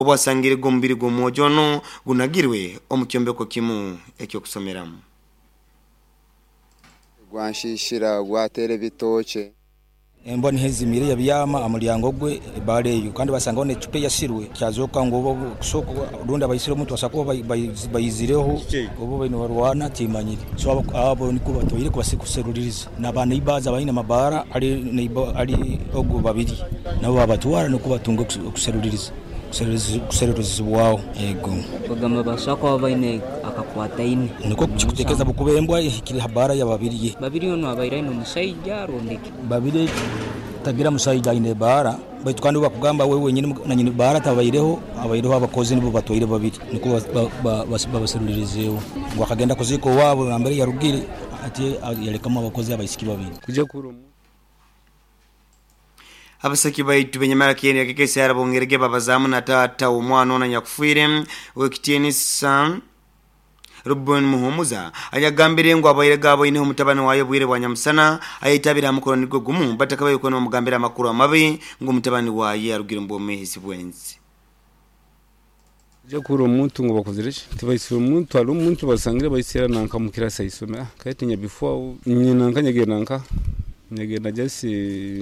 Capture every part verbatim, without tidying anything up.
Obwasangire gomubiri gw'omwojo ono gunagirwe omu kyombeko kimu ekyokusomeramu. Gwanshishira gwatera ebitookye. Embwa nihezimire yabyama amulyango gwe ebara eyo, kandi basangaho n'ecupa eyasirwe. Kyazoka ngu oba kusooka rundi abaisire omuntu basobola kuba baizireho obu baine barwana, timanyire. So abo niko batwaire kuseruliriza n'abaneighbors abaine amabara ali ali ogu babiri nabo babatwara nukwo batunge okuseruliriza kuserulirizibwaho ego. Bagamba basobola kuba baine akakwataine. Nikwo kikutekereza bukuba embwa ehikire ha bara ya Babirye. Babirye onu abaire aine omusaija rundi ki? Babirye tagira musaija aine ebara, baitu kandi bakugamba we wenyini nanyini bara tabaireho, abaireho abakozi nibo batwaire babiri nukwo babaserulirizeeho ngu akagenda kuziika owaabo nambere yarugire, ati yalekamu abakozi abaisiki babiri. Kuja kura. Abasaki baitu benyamara kiyeni yakekesa yarabongerege babazamu na tata omwana ono nyakufiire wekitiinisa Ruben Muhumuza, ayagambire ngu abaire gabo ine omutabani wayo bwire bwa nyamusana ayitabira hamukoro nigwo gumu batakabaye kuno bamugambira amakuru amabi ngu omutabani waye arugire mu bwomezi bwensi. Ja kura omuntu ngu bakozire ki, tibaisire omuntu, hariho omuntu basangire baisira nanka mukirasi aisomera kayetinya before nyina nka nyagenda nka nyagenda jasi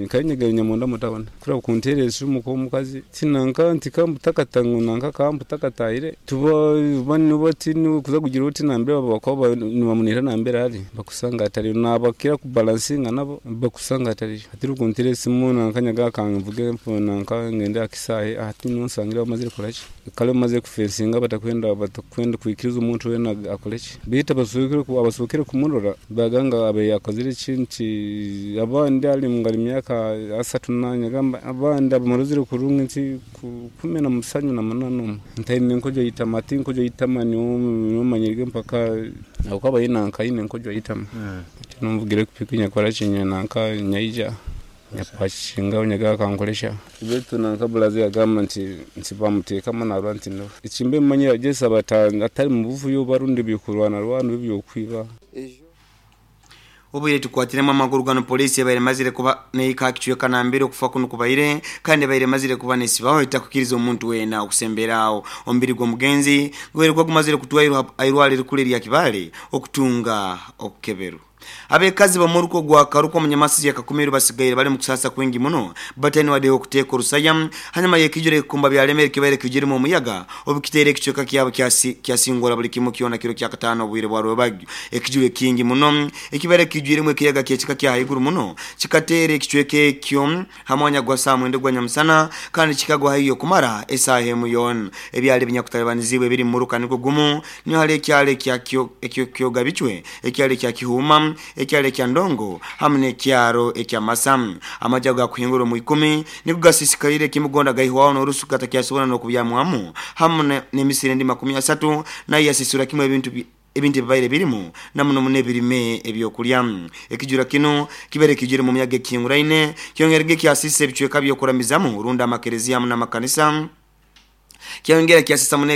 nkanyagenda nyamunda mutabona kura kuntereza esimu ko omukazi tinanka nti kambutakata ngu nanka kambutakataire tuba bani bati kuza kugira oti nambere babakuba nibamunira nambere ari bakusanga atari nabakira kubalansinga nabo bakusanga atari atiri kuntereza esimu nanka nyaga kanvuge nanka ngende akisahe ati nonsangira bamazire kolaki kale bamaze kufensinga batakwenda batakwenda kwikiriza omuntu wena akoleki bita basukire abasukire kumurora baganga abe yakozire kinti abandi ali ngali myaka asatu nanya gamba abandi abamaruzire kurungi nti kumi na musanju na munana ntaine nkojo yitama ati nkojo yitama ni umanyirige mpaka akaba yinanka ine nkojo yitama numvugire kupikinya kola kinya nanka nyaija nyapashinga nyaga kankolesha betu nanka bulazi agamba nti nti bamuteekamu narwa nti no ekimbe manyira jesa batanga atari mu buvuyo barundi bikurwana rwanu byokwiba. Obwire tukwatiremu amaguru gano, polisi yabaire mazire kuba neika kichweka nambere okufa kuno kubaire kandi yabaire mazire kuba nesibaho itakukiriza omuntu wena okusemberawo. Omubiri gw'omugenzi gubaire gwagumazire kutwairwa airwaliro kule lya Kibale okutunga okukeberu. Abekazi bamuruko gwa Karuko munyamasi ya Kakumiru basigaire bali mu kusasa kwingi muno batani wade okuteka orusaya hanyuma yekijure kumba byalemere kibaire kijirimu omuyaga obukitere ekichweka kyabo kyasi kyasingora buli kimu kyona kiro kya katano obwire bwa rwebagyo. Ekijure kingi muno ekibaire kijiremu ekiyaga kyekika kya haiguru muno kikatere ekichweka ekyo hamwanya gwa saa mwenda gwa nyamusana kandi kikagwa hiyo kumara esaha emu yona. Ebyali binyakutalibaniziibwe biri mu muruka niko gumu niho hali ekyalo ekya ekyo kyogabichwe, ekyalo ekya Kihuma, ekyalo ekya Ndongo hamwe n'ekyaro ekya Masamu. Amajja gakuhingura mu ikumi niko gasisikalire kimugonda gaihwaho n'orusuka takyasobora n'okubyamwamu hamwe n'emisiri endi makumi asatu nayo yasisura kimwe ebintu ebintu bibaire birimu namuno mune birime ebyokulya. Ekijura kino kibere kijire mu myaga ekinguraine kyongerege kyasise ebichweka byokuramizamu runda amakereziya n'amakanisa kyongera kyasisa mune.